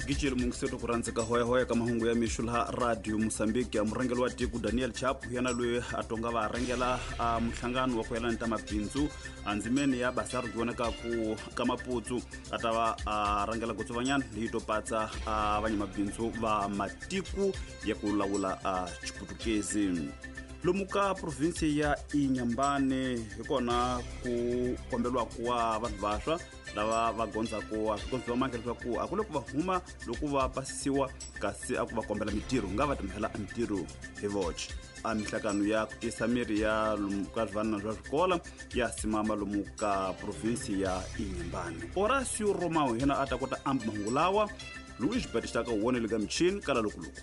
Gicile mungiseto ku rhandzeka hoyahoya ka mahungu ya mixo laha Radio Mosambiki. A murhangeri wa tiko Daniel Chap yena loyi a tonga va rhangela a muhlangano wa ku yelana ta mabindzu andzimeni ya basaru ki vonakaku ka Maputsu, a ta va a rhangela gotsovanyana leyi to patsa a vanyamabindzu va matiku ya ku lawula a Xiputukezi. Lomu ka provinsi ya Inyambane hi kona ku kombeliwaku wa vanhu vaswa lava va gondzaku a swigondzo va mandla leswaku a ku le ku va huma loko va pasisiwa, kasi a ku va kombela mitirho nga va timhela a mitirho hi voce. A mihlakano ya ku tisa miri ya lomu ka swivanana swa swikola ya simama lomu ka provinsi ya Inyambane. Horacio Romao yena a ta kota amba mahungu lawa. Luis Batista ka wonele ka michini kala lokuluku.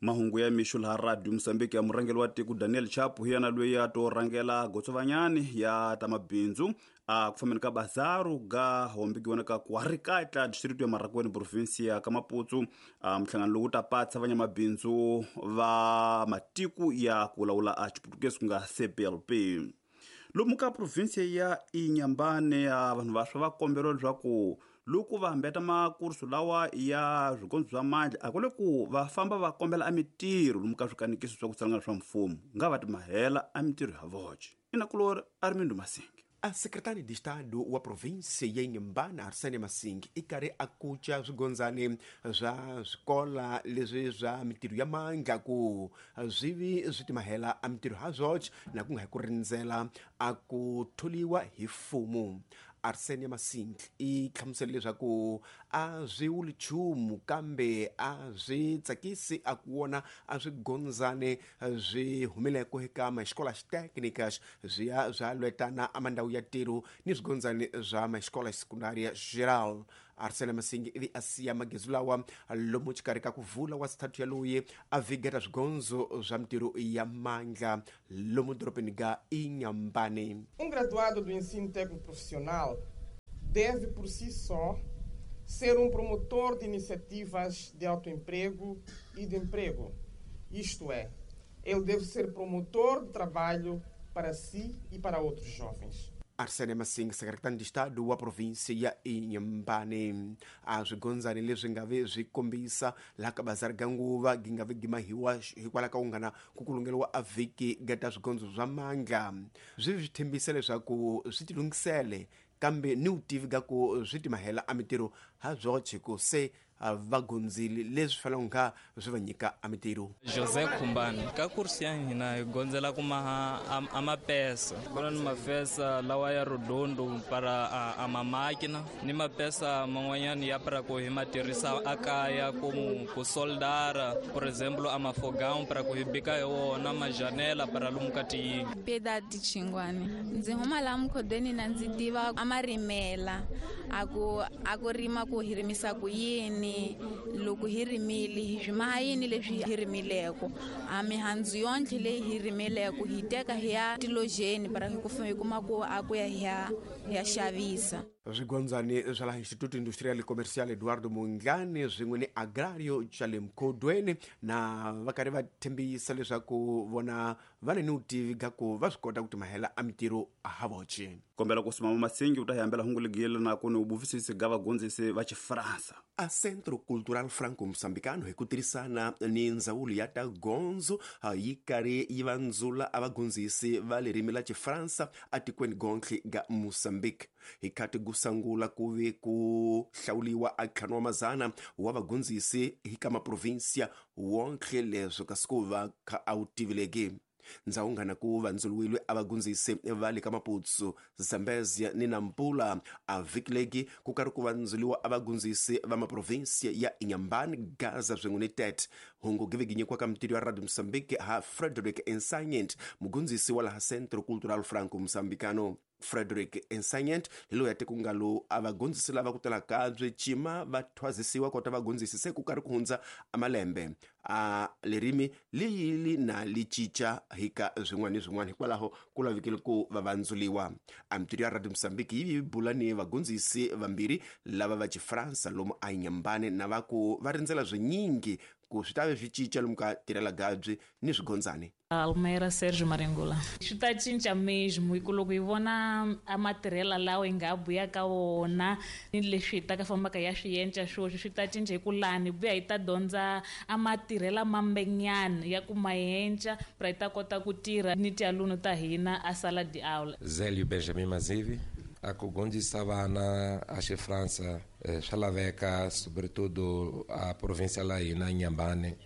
Mahungu ya mixo laha Radio Mosambiki. Ya murhangeri wa tiko Daniel Chapo hi yena loyi a to rhangela gotsovanyani ya ta mabindzu a ku fambeni ka bazaru ga hombiki vonaka ku harikatla district ya Marrakweni, provinsi ya ka Maputsu. A muhlangano lowu ta patsa vanyamabindzu va matiku ya ku lawula a Xiputukezi ku nga CPLP. Lomu ka provinsi ya Inyambane a vanhu vaswa va komberiwa leswaku loko va hambeta makursu lawa ya swikondzo swa mandla a ku le ku va famba va kombela a mitirho lomu ka swikanikiso swa ku tsalangana swa mfumo, nga va timahela a mitirho ya voce. Inakulori Armindo Masingi. A secretário de Estado wa província ya Inhambane, Arsênio Masingi, i karhi a kuca swigondzani swa swikola leswi swa mitirho ya mandla ku swi vi swi timahela a mitirho ha swoxe na ku nga hi ku rindzela a ku tholiwa hi mfumo. Arsênio Masingi i hlamusele leswaku a swi wuli nchumu kambe a swi tsakisi a ku vona a swigondzani swi humeleko eka maescolas técnicas swi ya swa lwetana a mandhawu ya ntirho ni swigondzani swa maescola secundária geral. Arsênio Masingi ivi a siya magezu lawa lomu xikarhi ka ku vula wa sithathu ya loyi a vigeta swigondzo swa mitirho ya mandla lomu dorobeni ga Inhambane. Um graduado do ensino técnico profissional deve por si só ser um promotor de iniciativas de autoemprego e de emprego. Isto é, ele deve ser promotor de trabalho para si e para outros jovens. Arsênio Masingi, secretário de Estado wa província ya Inhambane. A swigondzani leswi nga ve swi kombisa laha ka bazari ga nguva gi nga ve gimahiwa hikwalaho ka ku nga na ku kulungeriwa a vhiki ga ta swigondzo swa mandla swi swi tshembisa leswaku swi tilunghisele kambe ni vutivi ga ku swi timahela a mitirho ha byoxe ku se va gondzile leswi faneleke nga swi va nyika a mitirho. José Khumbani, ka kursi ya hina hi gondzela ku maha a mapesa kuna ni mafesa lawa ya redondo para a mamakina ni mapesa man'wanyana ya para ku hi ma tirhisa a kaya ku soldara, por exemplo a mafogão para ku hi bika hi wona majanela para lomu ka tiyindlu. Piedade Chingwani, ndzi huma laha mukhodweni na ndzi tiva a marimela a ku rima ku hi rimisa ku yini, loko hi rimile hi swi maha yini leswi hi rimileko, a mihandzu yontlhe leyi hi rimileko hi teka hi ya tilojeni para hi ku hi kuma ku a ku ya hi ya xavisa. Swigondzani swa laha Instituto Industrial Comercial Eduardo Mondlane swin'we ni Agrario xa le Mkhodweni na va karhi va tshembisa leswaku vona va ni vutivi ga ku va swi kota ku timahela a mitirho ha voce. Kombela ku simama Masingi u ta hi hambela hungu legile na ku ni vuvisisi ga vagondzisi va Xifransa. A Centro Cultural Franco Moçambicano hi ku tirhisana ni ndzawulo ya ta gondzo yi karhi yi vandzula a vagondzisi va ririmi la Xifransa atikweni gontlhe ga Mozambique. Hi khati ku sungula ku ve ku hlawuliwa a ntlhanu wa mazana wa vagondzisi hi ka maprovinsia wontlhe leswo kasi ku va kha a wu tivileki. Ndzhawu ngana ku vandzuluwile a vagondzisi va le ka Maputsu, Zambezia ni Nampula. A vhiki legi ku karhi ku vandzuliwa a vagondzisi va maprovinsia ya Inhambane, Gaza swin'we ni Tete. Hungu gi nyikiwa ka mitirho ya Radio Mozambique ha Frederick Ensanyent, mugondzisi wa laha Centro Cultural Franco Moçambicano. Frederick Ensanyent hi loyi a te ku nga lo a vagondzisi lava ku tala kabye cima va thwazisiwa kota vagondzisi se ku karhi ku hundza a malembe a lerimi li na li cinca hi ka swin'wana ni swin'wana, hikwalaho ku lavekile ku va vandzuliwa. A mitirho ya Radio Mozambique yi bula ni vagondzisi vambirhi lava va Xifransa lomu a Inhambane na va ku va rindzela swinyingi ku swi ta ve swi cinca lomu ka tirhela gabyi ni swigondzani. Almeida Sérgio Marengula. Swi ta cinca mesmo hi ku loko hi vona a matirhela lawa hi nga buya ka wona ni leswi hi ta ka fambaka ya swi yenca swoswi swi ta cinca hi ku lani buya hi ta dyondza a matirhela mambenyana ya ku mayenca pra hi ta kota ku tirha ni tialunu ta hina a sala de aula. Zélio Benjamin Mazivi. A ku dyondzisa vana a Xifransa swa laveka sobretudo a província la hina Inhambane,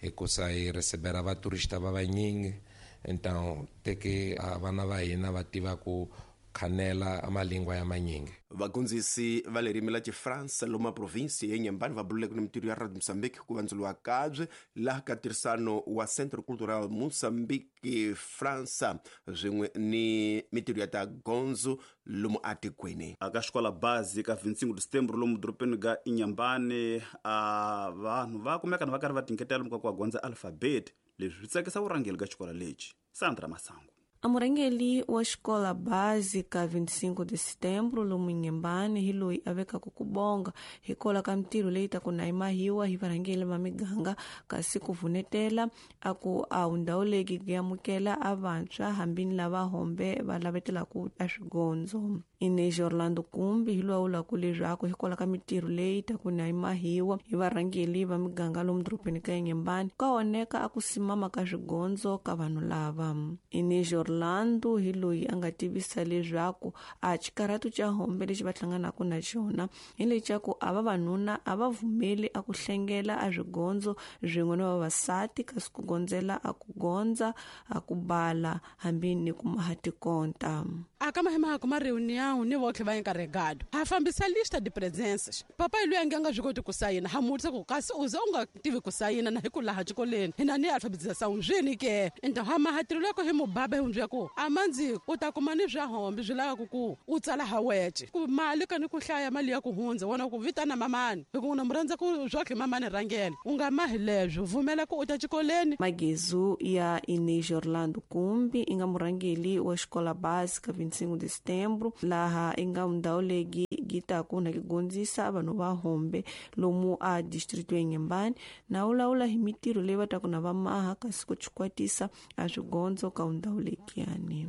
hikusa hi recebera vaturista va vanyingi, então te que a vana va hina va tiva ku khanela a malingwa ya manyingi. Vagondzisi va ririmi la Xifransa lomu provinsi ya Inhambane va bululeke ni mintirho ya Radio Mozambique ku vandzuriwa kabye laha ka ntirhisano wa Centro Cultural Mozambique Fransa swin'we ni mintirho ya ta gondzo lomu atikweni. Aka xikola bazi ka 25 de setembro lomu dorobeni ga Inhambane a vanhu va kumeka na va karhi va tinketela lomu ka ku va gondza alfabet. Leswi swi tsakisa vurhangeri ka xikola lexi. Sandra Masango. A murhangeri wa xikola básica 25 de setembro lomu Inhambane hi loyi a vekaka ku bonga hikwalaho ka mintirho leyi ta ku na yi mahiwa hi varhangeri va miganga, kasi ku vunetela a ku a wu ndhawu leyi yi amukela a vantshwa hambi ni lava hombe va lavetelaka a swigondzo. Inês Orlando Kumbi hi loyi a vulaka leswaku hikwalaho ka mintirho leyi ta ku na yi mahiwa hi varhangeri va miganga lomu dorobeni ka Inhambane ka oneka a ku simama ka swigondzo ka vanhu lava. Inês Orlando hi loyi a nga tivisa leswaku a xikarhatu xa hombe lexi va hlanganaka na xona hi lexa ku a vavanuna a va vumeli a ku hlengela a swigondzo swin'we na vavasati, kasi ku gondzela a ku gondza a ku bala hambi ni ku maha tikonta. A ka mahima kuma reunião ni votlhe va encarregado ha fambisa lista de presenças. Papai loyi a nge a nga swi koti ku sayina, ha mutisa ku kasi u ze u nga tivi ku sayina na hi ku laha xikolweni hina ni alfabetização swini ke. Então ha mahatirelo ya ku hi mubaba hi hundzia ku a mandzi u ta kuma ni swa hombe swi lavaka ku u tsala ha wece ku mali ka ni ku hlaya mali ya ku hundza wona ku vitana mamani hi ku na mu rhandza ku swa tlhe mamani rhangela u nga mahi leswo vumela ku u ta xikolweni. Magezu ya Inês Orlando Kumbi i nga murhangeri wa xikola básica 25 de setembro laha i nga ndhawu leyi yi taku na ku gondzisa vanhu va hombe lomu a distrito ya Inhambane na vulavula hi mintirho leyi va taku na va maha kasi ku chikwatisa a swigondzo ka ndhawu lekiyani.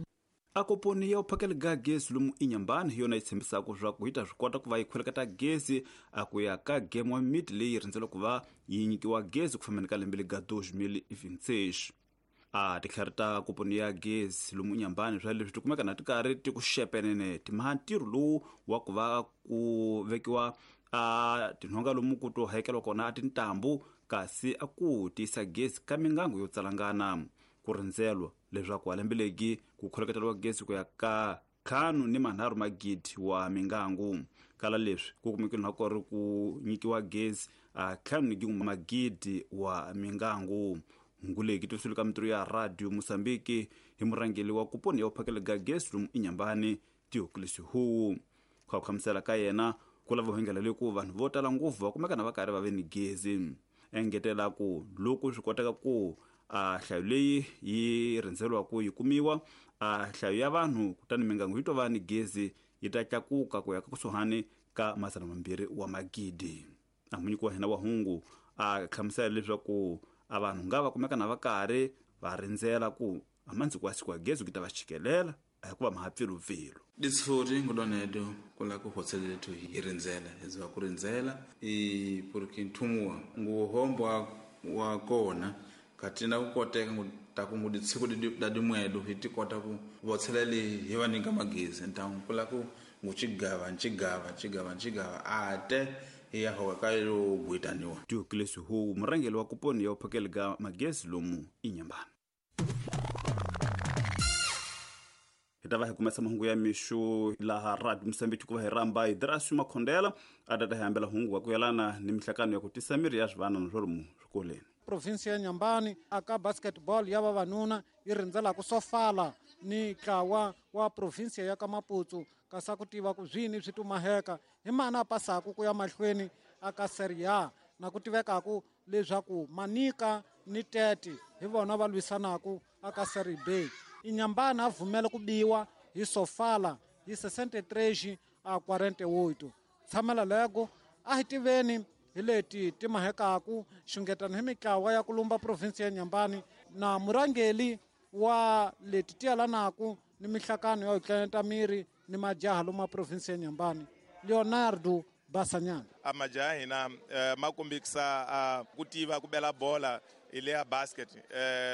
A koponi ya u phakela ga gezi lomu Inhambane hi yona yi tshembisaka leswaku yi ta swi kota ku va yi khweleketa gezi a ku ya ka game wa miti leyi rindzeleke ku va yi nyikiwa gezi ku fambeni ka lembe lega 2026. A titlhari ta koponi ya gezi lomu Inhambane swa leswi ti kumeka na ti karhi ti ku xepenene ti maha ntirho lowu wa ku va ku vekiwa a tinhonga lomu ku to hakeriwa kona a tintambu, kasi a ku tiyisa gezi ka mingango yo tsalangana. Ku rindzelwa leswaku lembe legi ku khweleketeriwa gezi ku ya ka 53 magidi wa mingangu. Kala leswi ku kumekile na ku ri ku nyikiwa gezi a 5 magidi wa mingangu. Nguleki tivisiwile ka mintirho ya Radio Mozambique hi murhangeri wa kuponi ya u phakela ga gezi lomu Inhambane Theoculus Huwu. Ku hlamusela ka yena ku lava hengela le ku vanhu vo tala ngopfu va kumeka na va karhi va ve ni gezi. Engetela ku loko swi koteka ku a hlayo leyi yi rindzelwa ku yi kumiwa a hlayo ya vanhu kutani mingangu yi to va ni gezi yi ta tlakuka ku ya ka kusuhani ka 200 wa magidi. A munyiki wa hina wa hungu a hlamusela leswaku a vanhu nga va kumeka na va karhi va rindzela ku a mandziko wa siku wa gezi ku ta va chikelela a hikuva mahapfelupfelu. Ditshori ngudonedo kula ku hotselethu hi rindzela hikuva ku rindzela i porque nthumuwa nguhombo wa kona katina ku koteka ta ku nguditsiko da dimwedo hi ti kota ku votselela hi va nyika magezi então kula ku nguchigava nchigava nchigava nchigava ate ya hoka ka yo gwitaniwa. Theoculus Huwu murhangeri wa kuponi ya u phakela ga magezi lomu Inhambane. Hi ta va hi kumesa mahungu ya mixo laha Radio Mozambique ku va hi rhamba hi Drasio Makhondela a ta ta hi hambela hungu wa ku yelana ni mihlakano ya ku tisa mirhi ya swivanana swo lomu swikolweni. Provinsi ya Inhambane aka basketball ya vavanuna yi rindzelaka Sofala ni ntlawa wa provinsi ya ka Maputo kasi ku tiva ku swini swi tumaheka hi mana pasaku ku ya mahlweni aka Serie A na ku tivekaku leswaku Manika ni Tete hi vona va lwisanaku aka Serie B. Inhambane a vumela ku biwa hi Sofala hi 63-48. Tshamela lego a hi tiveni Hi leti ti mahekaku xungetano hi mitlawa ya ku lumba provinsi ya Nyambani na murhangeli wa leti ti yalanaku ni mihlakano ya ku tleneta miri ni majaha lomu provinsi ya Nyambani, Leonardo Basanyana. A majaha hina ma kombisa ku tiva ku bela bola hi le ya basket,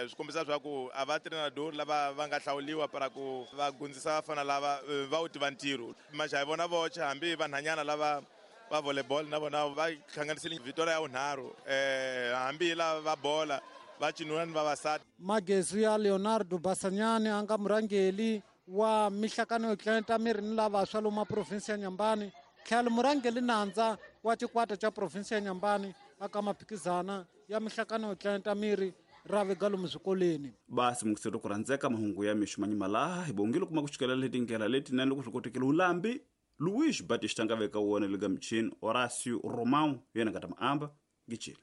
swi kombisa swa ku a va treinador lava va nga hlawuliwa para ku va gundzisa vafana lava va wu tiva ntirho. Majaha vona voxe, hambi vanhanyana lava va volleyball na vona va hlanganisile vitoria ya vunharhu, hambi lava va bola va cinuna ni vavasati. Magezu ya Leonardo Basanyani a nga murhangeli wa mihlakano yo tleneta miri ni lavaswa lomu provinsi ya Nyambani, tlhelo murhangeli nandza wa xikwata xa provinsi ya Nyambani aka maphikizana ya mihlakano yo tleneta miri ra vega lomu swikolweni. Basi mungisero ku rhandzeka mahungu ya mixo manyima laha hi bongile kuma ku xikelela letindlela letinene loko swi kotekile ulambi Luis Batista nga veka wona le ka michini Horacio Romão yena nga ta maamba ngicile.